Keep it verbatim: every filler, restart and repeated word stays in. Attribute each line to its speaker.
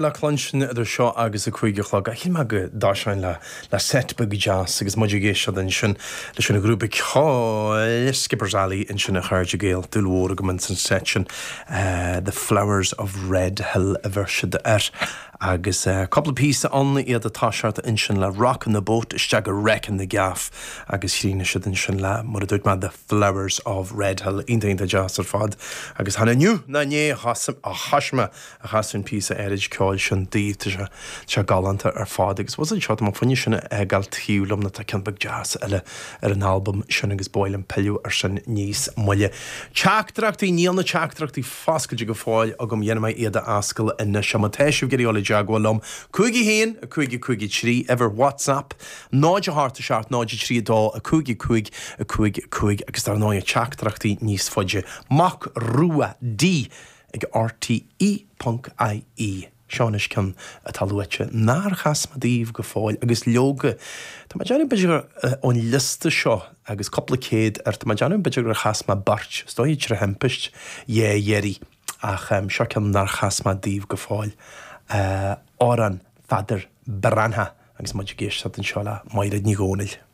Speaker 1: Le cluinstin idir seo agus a cúig a chlog. Shíl mé go dtosóinn le le seit beag deas agus muid ag éisteacht ansin leis an ghrúpa ceoil Skipper's Alley ansin a chairde Gael. Dúil mhór agam ins an seit sin The Flowers of Red Hill a bheir siad air. Agus cúpla píosa ann iad ag toiseacht ansin le Rockin' the Boat isteach go Wreckin' the Gaff agus chríochnaigh siad ansin le mar a dúirt mé The Flowers of Red Hill. Iontach iontach deas ar fad. Agus chan inniu ná inné a thosaigh mé a chasadh an píosa áirid ceoil sin daoibh tá sé sé galánta ar fad agus was seo má fuine sin a gal taobh liom na tá ceann beag deas eile ar an albam sin agus ba mhaith liom pilleadh ar sin níos moille. Teachtaireachtaí níl na teachtaireachtaí foscailte go fóill agam dhéanfaidh mé iad a oscailt anois má tá sibh ag iarraidh dul i dteagmháil liom. Cúig a haon, a cúig a cúig a trí, uimhir WhatsApp, náid a hocht a seacht, náid a trí a dó, a cúig a cúig, a cúig a cúig agus dar ndóigh teachtaireachtaí níos faide. Mac Rua D ag RTE ponc IE. Seo anois ceann atá luaite nár chas mé daoibh go fóill agus leoga tá mé ag déanamh b'fhéidir ón liosta seo agus cúpla céad ar tá mé ag déanamh b'fhéidir gur chas mé beirt, is dóigh trí thimpist dhá iarraidh ach seo ceann nár chas mé daoibh go fóill. Amhrán Pheadair Breathnach agus muid ag éisteacht anseo le Máire Ní Dhomhnaill.